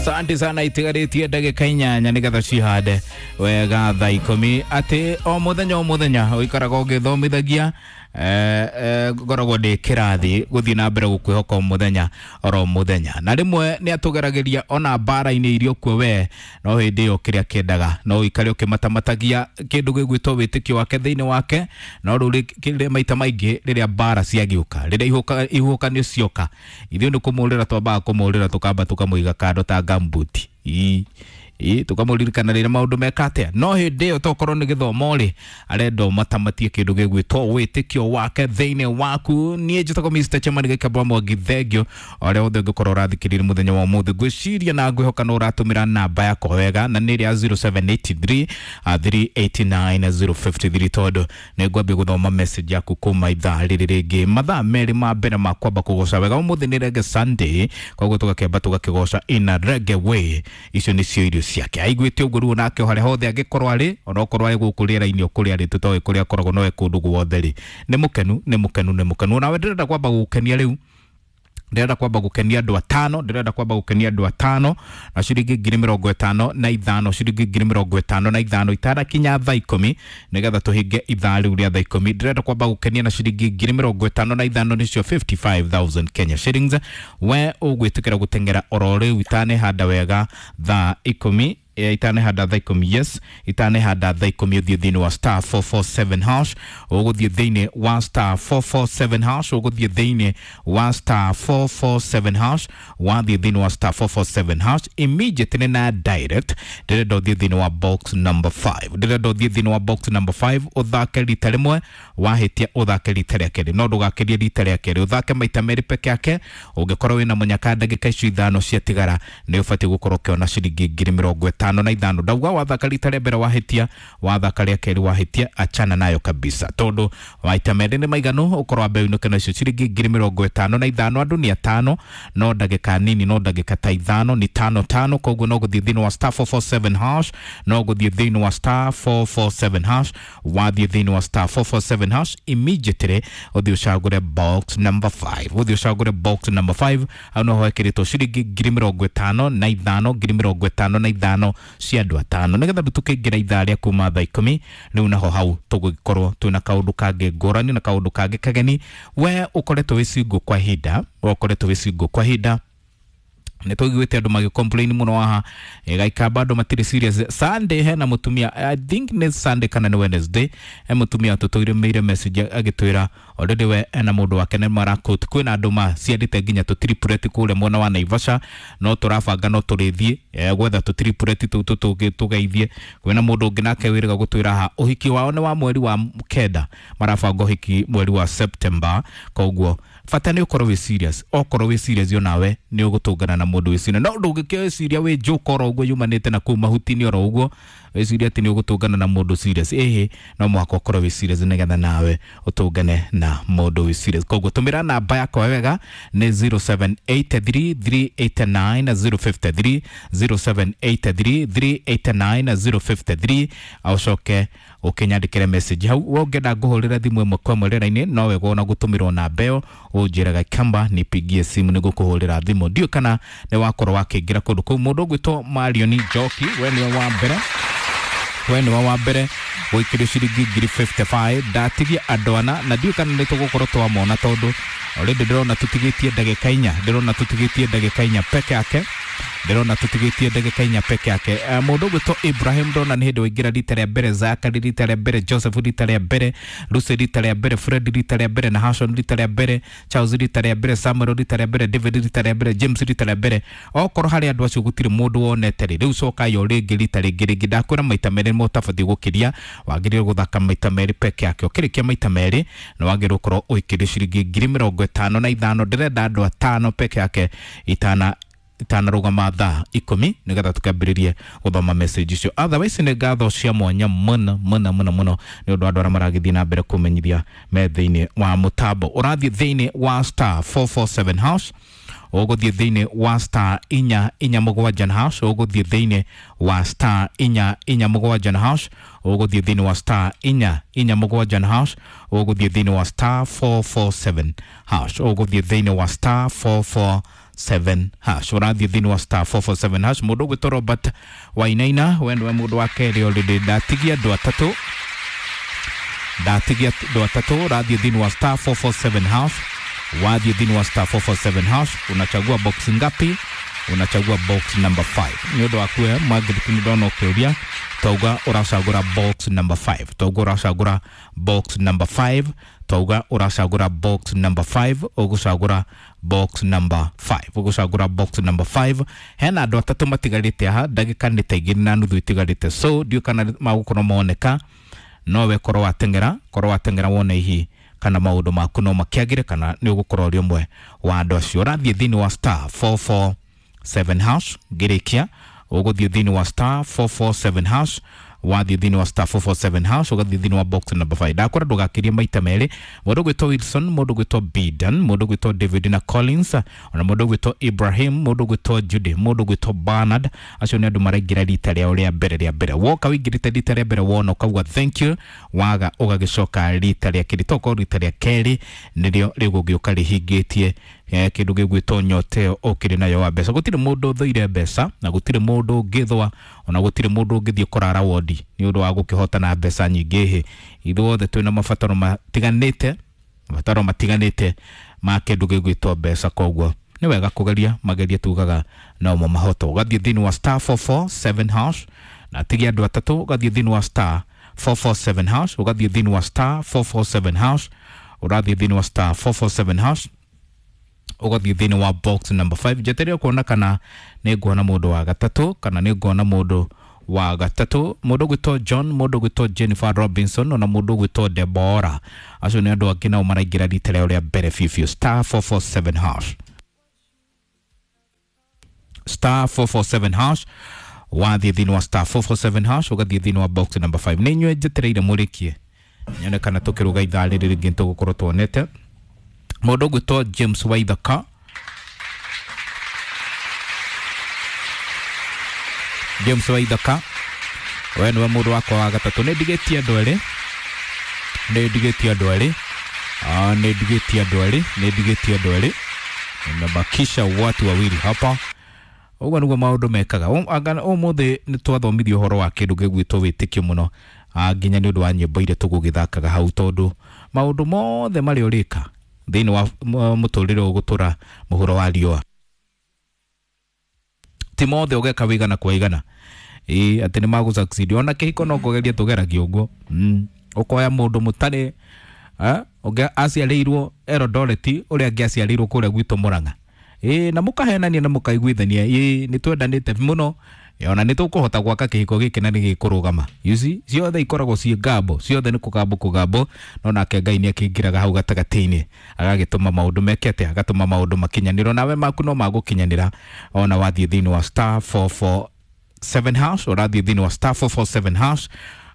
Asante sana, itigarĩtie ndagĩka 8 nĩgetha cihande wega thaa 10. Atĩ o mũthenya o mũthenya ũikaraga ũgĩthomithagia, ngoragwo ndĩ kĩrathi gũthiĩ na mbere gũkwĩhoka o mũthenya oro mũthenya, na rĩmwe nĩ atũgeragĩria ona mbara-inĩ iria ũkuo we, no hĩndĩ ĩyo kĩrĩa kĩendaga no ũikare ũkĩmatamatagia kĩndũ gĩgwĩtwo wĩtĩkio wake thĩinĩ wake. No rĩu rĩrĩa maita maingĩ rĩrĩa mbara ciagĩũka, rĩrĩa ihuhũkanio cioka, ithuĩ nĩ kũmũrĩra twambaga kũmũrĩra, tũkamba tũkamũiga kando ta gambuti ii tukamũririkana rĩrĩa maũndũ meka atĩa. No hĩndĩ ĩyo tokorwo nĩ gĩthomo rĩ, arenda ũmatamatie kĩndũ gĩgwĩtwo wĩtĩkio wake thĩinĩ waku. Niĩ njĩtagwo Mr. Chairman Gĩkabwa Mwangi, thengio ũrĩa wothe ũngĩkorwo ũrathikĩrĩria mũthenya wa ũmũthĩ. Ngwĩciria na ngwĩhoka no ũratũmĩra namba yakwa wega, na nĩ ĩrĩa 0783 389 053, tondũ nĩ ngwambia gũthoma message yaku kuma ithaa rĩrĩ rĩngĩ mathaa 2 ma mbere ma kwamba kũgoca wega. Ũmũthĩ nĩ Reggae Sunday, koguo tũgakĩamba tũgakĩgoca in a reggae way. Icio nĩcio irio ciake aiguĩte ũguo. Rĩu nake o harĩa hothe angĩkorwo arĩ, onokorwo arĩ gũkũ rĩera-inĩ o kũrĩa arĩ, tũtoĩ kũrĩa akoragwo, no e kũndũ guothe rĩ, nĩ mũkenu, nĩ mũkenu, nĩ mũkenu. Onawe ndĩrenda kwamba gũgũkenia rĩu, ndĩrenda kwamba gũkenia andũ atano, ndĩrenda kwamba gũkenia andũ atano na ciringi 55,000, ciringi 55,000 itanakinya thaa 10, nĩgetha tũhinge ithaa rĩu rĩa thaa 10. Ndĩrenda kwamba gũkenia na ciringi 55,000, nĩcio 55,000 Kenya shillings. We ũgwĩtĩkĩra gũteng'era oro rĩu itanehanda wega thaa 10, itanehanda thaa 10? Yes, itanehanda thaa 10, ũthiĩ thĩinĩ wa star 447 hash, ũgũthiĩ thĩinĩ wa star 447 hash, ũgũthiĩ thĩinĩ wa star 447 hash. Wathiĩ thĩinĩ wa star 447 hash immediately na direct, ndĩrenda ũthiĩ thĩinĩ wa box number 5, ndĩrenda ũthiĩ thĩinĩ wa box number 5, ũthake rita rĩmwe, wahĩtia ũthake rita rĩa kerĩ, no ndũgakĩrie rita rĩa kerĩ, ũthake maita 2 peke yake. Ũngĩkorwo wĩna mũnyaka, ndagĩka icio 5 ciatigara nĩ ũbatiĩ gũkorwo ũkĩona ciringi 55,000. Ndauga wathaka rita rĩa mbere wahĩtia, wathaka rĩa kerĩ wahĩtia, achana nayo kabisa, tondũ maita 2 nĩ maiganu ũkorwo wambe ũinũke nacio ciringi 55,000. Andũ nĩ atano, no ndagĩka nini, no ndagĩka ta 5, ni tano tano. Koguo no gũthiĩ thĩinĩ wa star 447 hash, no gũthiĩ thĩinĩ wa star 447 hash. Wathiĩ thĩinĩ wa star 447 hash immediately ũthiĩ ũcagũre box number 5, ũthiĩ ũcagũre box number 5. Hau noho hekĩrĩtwo ciringi 55,000, 55,000 cia andũ atano, nĩgetha rĩu tũkĩingĩra ithaa rĩa kuma thaa 10 rĩu naho hau tũgũgĩkorwo twĩna kaũndũ kangĩ ngũrani na kaũndũ kangĩ kageni. We ũkoretwo wĩ single kwa ihinda, we ũkoretwo wĩ single kwa ihinda, nĩ tũiguĩte andũ magĩ complain mũno haha gaikamba andũ matirĩ serious. Sunday hena mũtumia, I think nĩ Sunday kana nĩ Wednesday, he mũtumia tũtũrĩmĩire message agĩtwĩra already we ena mũndũ wake nĩ marakũt, kwĩna andũ maciarĩte nginya tũtiripureti kũrĩa mwena wa Naivasha, no tũrabanga no tũrĩthiĩ gwetha tũtiripureti tũu tũgeithie. Kwĩna mũndũ ũngĩ nake wĩrĩga gũtwĩra haha ũhiki wao nĩ wa mweri wa 9, marabanga ũhiki mweri wa September. Koguo bata nĩ ũkorwo wĩ serious, okorwo wĩ serious onawe nĩ ũgũtũngana na mũndũ wĩ serious. No ndũngĩkĩciria wĩ joke oro ũguo yumanĩte na kũu mahuti-inĩ oro ũguo, wĩciria atĩ nĩ ũgũtũngana na mũndũ serious. Ĩhĩ, no mũhaka ũkorwo wĩ serious nĩgetha nawe ũtũngane na mũndũ wĩ serious. Koguo tũmĩra namba yakwa wega, nĩ 0783 389 053, 0783 389 053. Ũcoke ũkĩnyandĩkĩre message hau. We ũngĩenda ngũhũrĩre thimũ ĩmwe kwa ĩmwe rĩera-inĩ, no wega ona gũtũmĩrwo namba ĩyo, ũnjĩraga kamba nipigie simu nĩgũkũhũrĩra thimũ. Ndiũĩ kana nĩ wakorwo wakĩingĩra kũndũ kũu. Mũndũ ũgwĩtwo Marion Njoki, we nĩwe wa mbere, we nĩwe wa mbere gũikĩrio ciringi 55,000. Ndatigia andũ ana na ndiũĩ kana nĩ tũgũkorwo twamona, tondũ already ndĩrona tũtigĩtie ndagĩka 4, ndĩrona tũtigĩtie ndagĩka 4 peke yake, ndĩrona tũtigĩtie ndagĩka 4 peke yake. Mũndũ ũgwĩtwo Ibrahim ndona nĩ hĩndĩ waingĩra rita rĩa mbere, Zakari rita rĩa mbere, Joseph rita rĩa mbere, Lucy rita rĩa mbere, Fred rita rĩa mbere, Nahashon rita rĩa mbere, Charles rita rĩa mbere, Samuel rita rĩa mbere, David rita rĩa mbere, James rita rĩa mbere. Okorwo harĩ andũ acio gũtirĩ mũndũ wonete rĩ, rĩu cokai o rĩngĩ rita rĩngĩ rĩngĩ. Ndakwĩra maita 2 nĩmo ũtabatiĩ gũkĩria, wagĩrĩirwo gũthaka maita 2 peke yake. Ũkĩrĩkia maita 2 nĩ wagĩrĩirwo gũkorwo ũikĩrie ciringi 55,000. Ndĩrenda andũ atano peke yake itanarũgama thaa 10, nĩgetha tũkĩambĩrĩrie gũthoma message icio. Otherwise nĩ ngatho cia mwanya mũno mũno mũno mũno nĩ ũndũ wa andũ arĩa maragĩthiĩ na mbere kũmenyithia me thĩinĩ wa mũtambo. Ũrathiĩ thĩinĩ wa star 447 hash, ũgũthiĩ thĩinĩ wa star 447 na hash, ũgũthiĩ thĩinĩ wa star 447 na hash, ũgũthiĩ thĩinĩ wa star 447 na hash, ũgũthiĩ thĩinĩ wa star 447 hash, ũgũthiĩ thĩinĩ wa star 447 7 hash. Ũrathiĩ thĩinĩ wa star 447 hash. Mũndũ ũgwĩtwo Robert Wainaina, we nĩwe mũndũ wa kerĩ already. Ndatigia andũ atatũ, ndatigia andũ atatũ. Ũrathiĩ thĩinĩ wa star 447 hash. Wathiĩ thĩinĩ wa star 447 hash, unachagua box ngapi? Unachagua box number 5. Nĩ ũndũ waku we Margaret, nĩ ndona ũkĩũria. Twauga ũracagũra box number 5, twauga ũracagũra box number 5, twauga ũracagũra box number 5. Ũgũcagũra box number 5, ũgũcagũra box number 5. Hena andũ atatũ matigarĩte haha, ndagĩka nĩ ta 2.5 itigarĩte, so ndiũ kana magũkorwo moneka. Nowe korwo wateng'era, korwo wateng'era wone hihi kana maũndũ maku no makĩagĩre, kana nĩ ũgũkorwo ũrĩ ũmwe wa andũ acio. Ũrathiĩ thĩinĩ wa star 447 hash. Ngĩrĩkia, ũgũthiĩ thĩinĩ wa star 447 hash. Wathiĩ thĩinĩ wa star 447 hash, ũgathiĩ thĩinĩ wa box number 5. Ndakwĩra ndũgakĩrie maita merĩ. Mũndũ ũgwĩtwo Wilson, mũndũ ũgwĩtwo Bidan, mũndũ ũgwĩtwo David na Collins, ona mũndũ ũgwĩtwo Ibrahim, mũndũ ũgwĩtwo Judy, mũndũ ũgwĩtwo Bernard, acio nĩ andũ maraingĩra rita rĩao rĩa mbere rĩa mbere. Woka ũingĩrĩte rita rĩa mbere, wona ũkauga thank you, waga ũgagĩcoka rita rĩa kerĩ. Tokorwo rita rĩa kerĩ nĩrĩo rĩgũgĩũka rĩhingĩtie kĩndũ gĩgwĩtwo nyota ĩyo ũkĩrĩ nayo wa mbeca. Gũtirĩ mũndũ ũthũire mbeca, na gũtirĩ mũndũ ũngĩthũa, ona gũtirĩ mũndũ ũngĩthiĩ kũrara wondi nĩ ũndũ wa gũkĩhotana mbeca nyingĩ. Hĩ, ithuothe twĩna mabataro matiganĩte, mabataro matiganĩte ma kĩndũ gĩgwĩtwo mbeca. Koguo nĩ wega kũgeria, magerie tugaga no mo mahoto. Ũgathiĩ thĩinĩ wa star 447 hash na tigia andũ atatũ. Ũgathiĩ thĩinĩ wa star 447 hash, ũgathiĩ thĩinĩ wa star 447 hash, ũrathiĩ thĩinĩ wa star 447 hash, ũgathiĩ thĩinĩ wa box number 5. Njetereire kuona kana nĩ nguona mũndũ wa gatatũ, kana nĩ nguona mũndũ wa gatatũ. Mũndũ ũgwĩtwo John, mũndũ ũgwĩtwo Jennifer Robinson, ona mũndũ ũgwĩtwo Deborah, acio nĩ andũ angĩ nao maraingĩra rita rĩao rĩa mbere biũ biũ. Star 447 hash, star 447 hash. Wathiĩ thĩinĩ wa star 447 hash, ũgathiĩ thĩinĩ wa box number 5. Nĩ inyuĩ njetereire mũrĩkie, nyone kana tũkĩrũga ithaa rĩrĩ rĩngĩ nĩtũgũkorwo tuonete mũndũ ũgwĩtwo James Waithaka. James Waithaka, we nĩwe mũndũ wakwa wa gatatũ. Nĩ ndigĩtie andũ erĩ, nĩ ndigĩtie andũ erĩ, nĩ ndigĩtie andũ erĩ, nĩ ndigĩtie andũ erĩ. Nimebakisha watu wawili hapa. Ũguo nĩguo maũndũ mekaga. Ũmũthĩ nĩ twathomithio ũhoro wa kĩndũ gĩgwĩtwo wĩtĩkio mũno, nginya nĩ ũndũ wa nyĩmbo iria tũgũgĩthakaga hau, tondũ maũndũ mothe marĩa ũrĩka thĩinĩ wa mũtũrĩre ũgũtũra mũhuro wa riũa, ti mothe ũgeka wĩigana kwa igana ĩĩ atĩ nĩ magũ succeed. Ona kĩhiko no kũgeria tũgeragia ũguo. Ũkoya mũndũ mũtarĩ ũngĩ aciarĩirwo Eldoret, ũrĩa angĩ aciarĩirwo kũrĩa gwitũ Murang'a, ĩĩ, na mũkahenania na mũkaiguithania, ĩĩ, nĩ twendanĩte mũno, ona nĩ tũkũhota gwaka kĩhiko gĩkĩ na nĩ gĩkũrũgama. You see, ciothe ikoragwo ciĩ ngambo, ciothe nĩ kũgambo kũgambo, no nake Ngai nĩ akĩingĩraga hau gatagatĩ-inĩ, agagĩtũma maũndũ meke atĩa, agatũma maũndũ makinyanĩrwo. Nawe maku no magũkinyanĩra ona wathiĩ thĩinĩ wa star 447 hash. Ũrathiĩ thĩinĩ wa star 447 hash,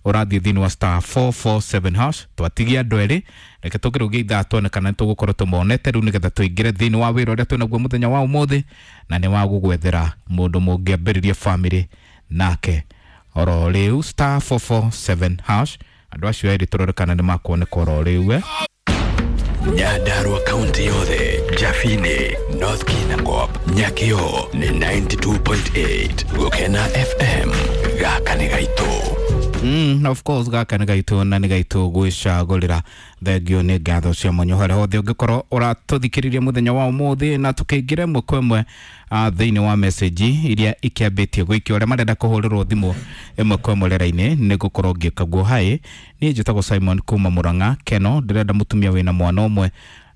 ũrathiĩ thĩinĩ wa star 447 hash. Twatigia andũ erĩ, reke tũkĩrũgie ithaa tuone kana nĩtũgũkorwo tũmonete rĩu, nĩgetha tũingĩre thĩinĩ wa wĩra ũrĩa twĩnaguo mũthenya wa ũmũthĩ, na nĩ wa gũgwethera mũndũ mũngĩambĩrĩria family nake oro rĩu. Star 447 hash, andũ acio erĩ tũrore kana nĩ makuoneka oro rĩu. Nyandarua kaunti yothe, Jafine, North Kinangop, Nyakio ni 92.8 Gukena FM. Gaka nĩ gaitũ. Of course, gaka nĩ gaitũ na nĩ gaitũ gwĩcagũrĩra. Thengio nĩ ngatho cia mwanya harĩa hothe ũngĩkorwo ũratũthikĩrĩria mũthenya wa ũmũthĩ, na tũkĩingĩra ĩmwe kwa ĩmwe thĩinĩ wa message iria ikĩambĩtie gũikio, arĩa marenda kũhũrĩrwo thimũ ĩmwe kwa ĩmwe rĩera-inĩ nĩ ngũkorwo ngĩka guo. Hi, niĩ njĩtagwo Simon kuma Murang'a Keno, ndĩrenda mũtumia wĩna mwana ũmwe,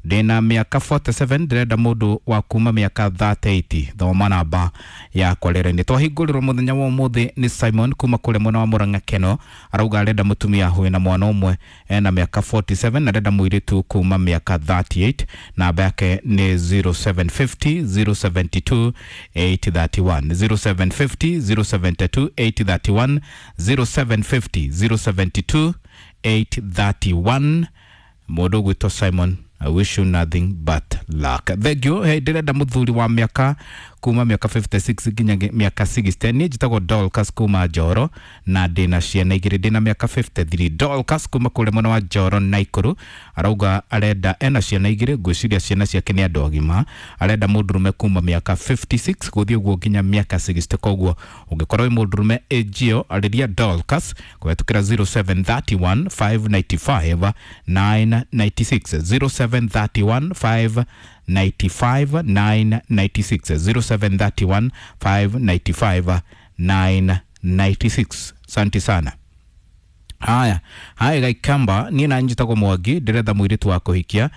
ndĩna mĩaka 47, ndĩrenda mũndũ wa kuma mĩaka 38. Thoma namba yakwa rĩera-inĩ. Twahingũrĩrwo mũthenya wa ũmũthĩ nĩ Simon kuma kũrĩa mwena wa Murang'a Keno, arauga arenda mũtumia wĩna mwana ũmwe, ena mĩaka 47, na arenda mũirĩtu kuma mĩaka 38. Namba yake nĩ 0750 072 831, 0750 072 831, 0750 072 831. Mũndũ ũgwĩtwo Simon, I wish you nothing but luck. Thank you. Hey, ndĩrenda mũthuri wa mĩaka Kuma mĩaka 56 nginya mĩaka 60. Niĩ njĩtagwo Dorcas kuma Njoro na ndĩna ciana igĩrĩ, ndĩna mĩaka 53. Dorcas kuma kũrĩa mwena wa Njoro Naikuru arauga arenda, ena ciana igĩrĩ, ngwĩciria ciana ciake nĩ andũ agima, arenda mũndũrũme kuma mĩaka 56 gũthiĩ ũguo nginya mĩaka 60. Koguo ũngĩkorwo wĩ mũndũrũme ĩnjio, arĩria Dorcas kũhetũkĩra 0731 595 996, 0731 5 95 996, 0731 595 996. Asante sana. Haya haya, Gaikamba, niĩ na njĩtagwo Mwangi, ndĩretha mũirĩtu wa kũhikia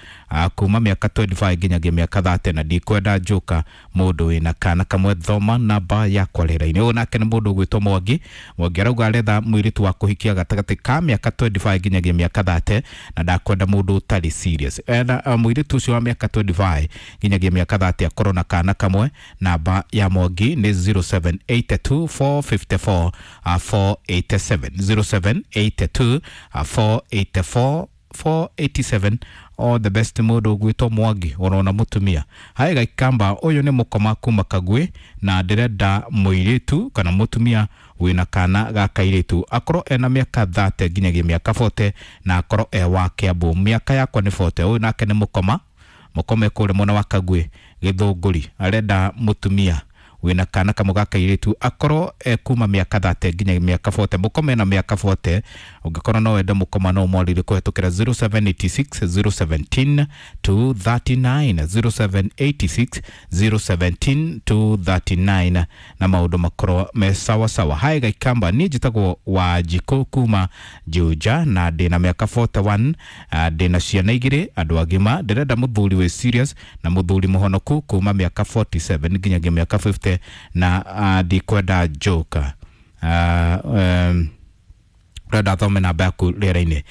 kuma mĩaka 25 nginyagia mĩaka 30 na ndikwenda njuka, mũndũ wĩna kana kamwe. Thoma namba yakwa rĩera-inĩ. Ũyũ nake nĩ mũndũ ũgwĩtwo Mwangi. Mwangi arauga aretha mũirĩtu wa kũhikia gatagatĩ ka mĩaka 25 nginyagia mĩaka 30 na ndakwenda mũndũ ũtarĩ serious. Ena mũirĩtu ũcio wa mĩaka 25 nginyagia mĩaka 30 akorwo na kana kamwe. Namba ya Mwangi nĩ 0782 454 487, 0782 484 487. All the best, mũndũ ũgwĩtwo Mwangi ũrona mũtumia. Hai Gaikamba, ũyũ nĩ mũkoma kuma Kagwĩ na ndĩrenda mũirĩtu kana mũtumia wĩna kana ga kairĩtu, akorwo ena mĩaka 30 nginyagia mĩaka 40 na akorwo e wa Kiambu. Mĩaka yakwa nĩ 40. Ũyũ nake nĩ mũkoma, mũkome kũrĩa mwena wa Kagwĩ Gĩthũngũri, arenda mũtumia wĩna kana kamwe ga kairĩtu, akorwo e kuma mĩaka 30 nginya mĩaka 40. Mũkome na mĩaka 40. Ũngĩkorwo no wende mũkoma, no mwarire kũhetũkĩra 0786 017 239, 0786 017 239 na maũndũ makorwo me sawa sawa. Hai Gaikamba, niĩ njĩtagwo Wanjikũ kuma Juja na ndĩna mĩaka 41, ndĩna ciana igĩrĩ andũ agima, ndĩrenda mũthuri wĩ serious na mũthuri mũhonoku kuma mĩaka 47 nginyagia mĩaka 50 na ndikwenda njoka. Ũrenda thome namba yaku rĩera-inĩ.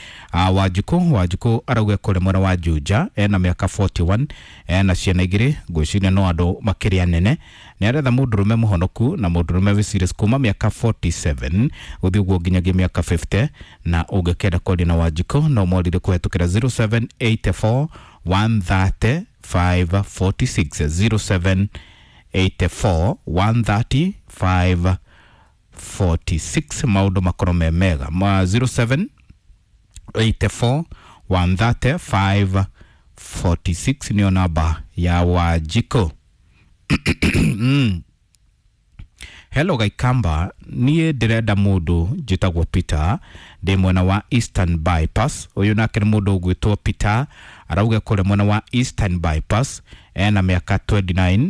Wanjikũ, Wanjikũ arauga kũrĩa mwena wa Juja, ena mĩaka 41, ena ciana igĩrĩ, ngwĩciria no andũ makĩrĩ anene, nĩ aretha mũndũrũme mũhonoku na mũndũrũme wĩ serious kuma mĩaka 47 gũthiĩ ũguo nginyagia mĩaka 50. Na ũngĩkenda kwaria na Wanjikũ, no mwarire kũhetũkĩra 0784 130 546, 0784 130 546. Maũndũ makorwo me mega ma 07 84 130 546 nĩyo namba ya Wanjikũ. Hello Gaikamba, niĩ ndĩrenda mũndũ, njĩtagwo Peter, ndĩ mwena wa Eastern Bypass. Ũyũ nake nĩ mũndũ ũgwĩtwo Peter, arauga kũrĩa mwena wa Eastern Bypass, ena mĩaka 29,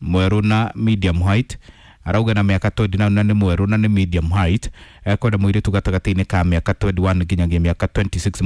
mwerũ na medium height. Arauga na mĩaka 29 na nĩ mwerũ na nĩ medium height, ekwenda mũirĩtu gatagatĩ-inĩ ka mĩaka 21 nginyagia mĩaka 26.